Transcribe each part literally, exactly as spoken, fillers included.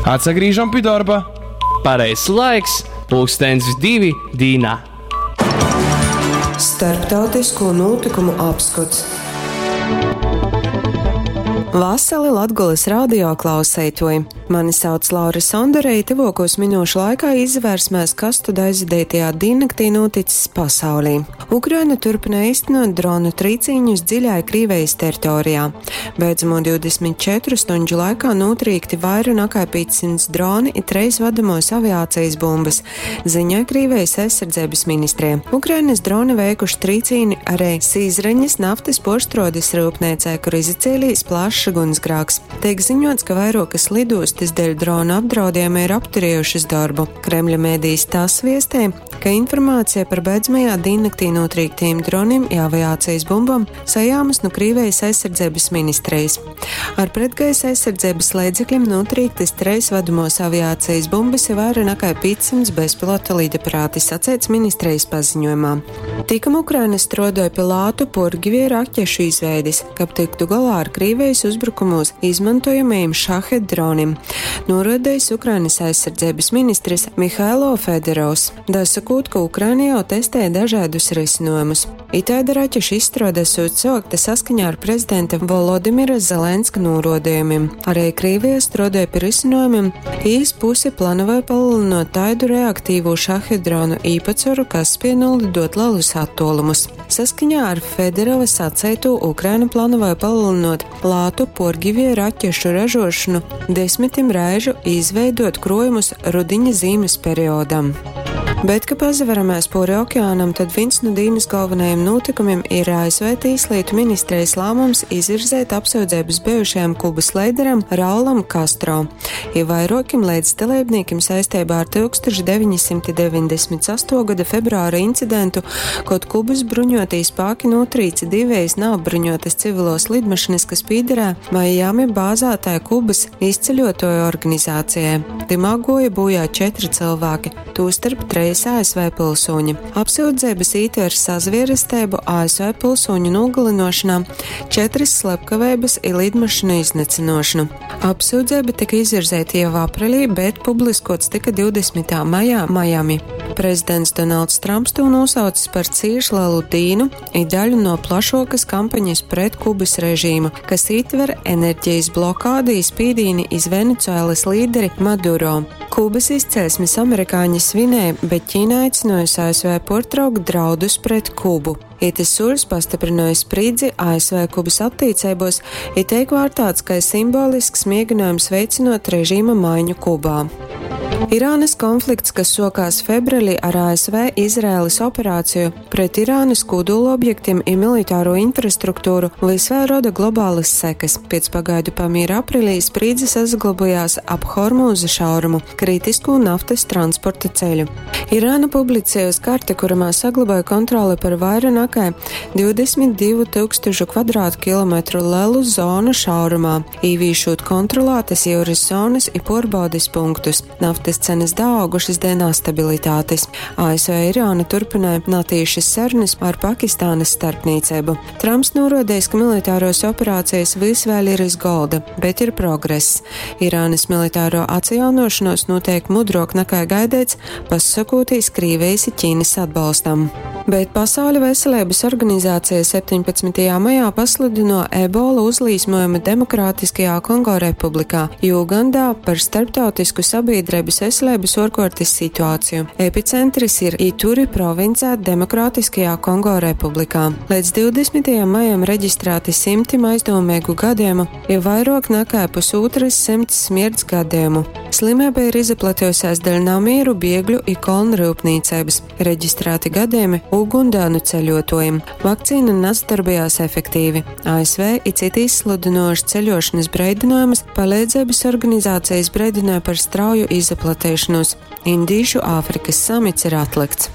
Atsagrīžam pi dorba. Pareizs laiks – pulkstens divi dīnā. Starptautisko notikumu apskots. Vasali Latgolas radio klauseitoji! Mani sauc Laura Sondore, i tyvuokūs minūšu laikā izvērsmēs, kas tad aizvadītajā dīnnaktī noticis pasaulī. Ukraina turpina īstenot dronu trīcīņus dziļai Krīvijas teritorijā. Beidzamo divdesmit četru stunžu laikā notrīkti vaira nekā piecsimt droni i treis vadamos aviācijas bumbas, ziņoja Krīvijas aizsardzības ministrija. Ukrainas droni veikuši trīcīni arī Sīzreņas naftas porštrodes rūpniecē, kur izacēlījis plašs ugunsgrāks. Tiek ziņots, ka vairokas lidostas dēļ dronu apdraudējuma ir apturējušas darbu. Kremļa mēdījis TASS viestē, ka informācija par beidzamajā diennaktī notrīktiem droniem i aviācijas bumbām sajāmas no Krīvijas aizsardzības ministrijas. Ar pretgaisa aizsardzības līdzekļiem notrīktas treis vadamos aviācijas bumbas ir vairāk nekā piecsimt bezpilota lidaparāti, sacēts ministrijas paziņojumā. Tikam Ukraina strodoja pie lātu purgivie raķešu izveidis, kab tiktu galā ar Krīvijas uzbrukumos izmantojamajiem šahed dronim, norodējis Ukrainas aizsardzības ministrs Mihailo Federovs, dasakot, ka Ukraina jau testē dažādus risinājumus. Itāda raķešu izstrāde esot sākta saskaņā ar prezidenta Volodimira Zelenska norodījumiem. Arī Krīvija strādāja pie risinājumiem, īs pusi planoja palielinot taidu reaktīvo šahed dronu īpatsvaru, kas spēj nolidot lielus attālumus. Saskaņā ar Federova saceitu Ukraina planoja palielinot lātu porgivie raķešu ražošanu desmitim reižu izveidot krojumus rudiņa zīmes periodam. Bet, ka pazaveramies pori okeānam, tad viens no dīnas galvenajiem notikumiem ir A S V tīslietu ministrijas lēmums izvirzēt apsūdzības bijušajam Kubas līderam Raulam Castro, i vairokim līdzdalībniekiem saistībā ar tūkstoš deviņsimt deviņdesmit sesto gada februāra incidentu, kod Kubas bruņotī spēki notrīca divējas neapbruņotas civilos lidmašīnas, kas pīderē Miami bāzētāja Kubas izceļotoju organizācijai. Timā goja bojā četri cilvēki, tostarp treis A S V pilsoņi. Apsūdzības ītver sazvierestēbu A S V pilsoņu nogalinošanā, četras slepkavības i lidmašīnu iznecinošanu. Apsūdzība tika izvirzīta jau aprīlī, bet publiskots tika divdesmitā maijā Miami. Prezidents Donalds Trumps to nosaucis par cīši lielu dīnu i daļu no plašokas kampaņas pret Kubas režīmu, kas ietver enerģijas blokādi i spīdīni iz Venecuēlas līderi Maduro. Kubas izcelsmes amerikāņi svinēja, bet Ķīna aicinājusi A S V portraukt draudus pret Kubu. Itis soļs pastiprināja spriedzi A S V Kubas attiecībos, i teik vārtāts, ka simbolisks mēģinājums veicinot režīma maiņu Kubā. Irānas konflikts, kas sokās februārī ar A S V Izraēlas operāciju pret Irānas kodola objektiem i militāro infrastruktūru, vis vēl roda globālas sekas. Pēc pagaidu pamiera aprīlī spriedze saglabājās ap Hormūza šaurumu, kritisko naftas transporta ceļu. Irāna publicējusi karti, kuramā saglabāja kontroli par vairāk nekā divdesmit divu tūkstošu kvadrātkilometru lielu zonu šaurumā, īvīšot kontrolētas jūras zonas i porbaudes punktus. Naftas cenas daaugušas dēļ nestabilitātes. A S V Irāna turpināja natīšas sarunas ar Pakistānas starpniecību. Trumps norodējis, ka militāros operācijas vis vēl ir iz golda, bet ir progress. Irānas militāro atjaunošanos notiek mudrok nekā gaidīts, pasakotīs Krīvijas i Ķīnas atbalstam. Bet Pasaules veselības organizācija septiņpadsmitajā maijā pasludino ebola uzlīsmojumu Demokrātiskajā Kongo Republikā, Ugandā par starptautisku sabiedrības veselības orkortes situāciju. Epicentrs ir Ituri provincē Demokrātiskajā Kongo Republikā. Līdz divdesmitajam maijam reģistrēti simtim aizdomīgu gadījumu, ja vairāk nekā pusotras simts smirts gadījumu. Slimība ir izplatījusies dēļ namīru, biegļu i kolnu rūpnīcības. Reģistrēti gadījumi Ugundānu ceļotājiem. Vakcīna nesadarbojās efektīvi. A S V i citi izsludinoši ceļošanas breidinājumus, palīdzības organizācijas breidināja par strauju izplatīšanos. Indīšu Āfrikas samits ir atlikts.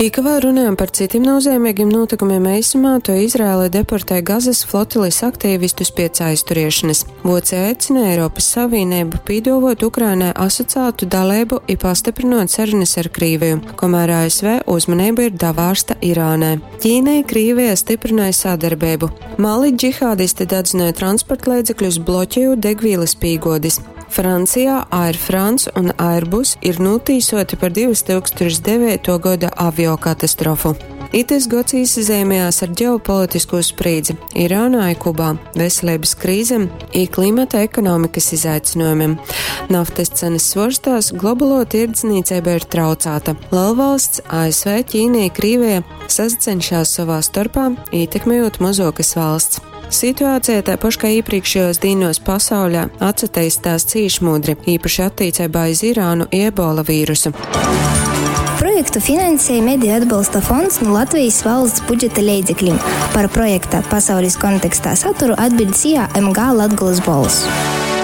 Ika vēl runājam par citiem nozīmīgiem notikumiem eisumā, to Izraēla deportē Gazas flotilis aktīvistus pēc aizturēšanas. Vocija aicina Eiropas Savienību pīdovot Ukrainai asociētu dalību i pastiprinot sarunas ar Krīviju, kamēr A S V uzmanība ir davārsta Irānai. Ķīnai Krīvija stiprināja sadarbību. Mali džihādisti dedzināja transportlīdzekļus, bloķējot degvielas pīgodis. Francijā Air France un Airbus ir nūtīsoti par divtūkstoš devītuo goda aviokatastrofu. Itys gods īsazeimējās ar ģeopolitisko sprīdzi Irānā i Kubā, veselības krīzem i klimata ekonomikas izaicinojumiem. Naftas cenas svorstās, globālo tirdzniecība ir traucāta. Lielvalsts A S V, Ķīna, Krīvija sacenšas savā starpā, ietekmējot mazokas valsts. Situācija tāpaši kā iepriekšējos dīnos pasaulē atsateistās cīši mudri, īpaši attiecībā iz Irānu i ebola vīrusu. Projektu finansēja Mediju atbalsta fonds no Latvijas valsts budžeta leidzeklim. Par projekta pasaules kontekstā saturu atbild S I A M G Latgolas Bolss.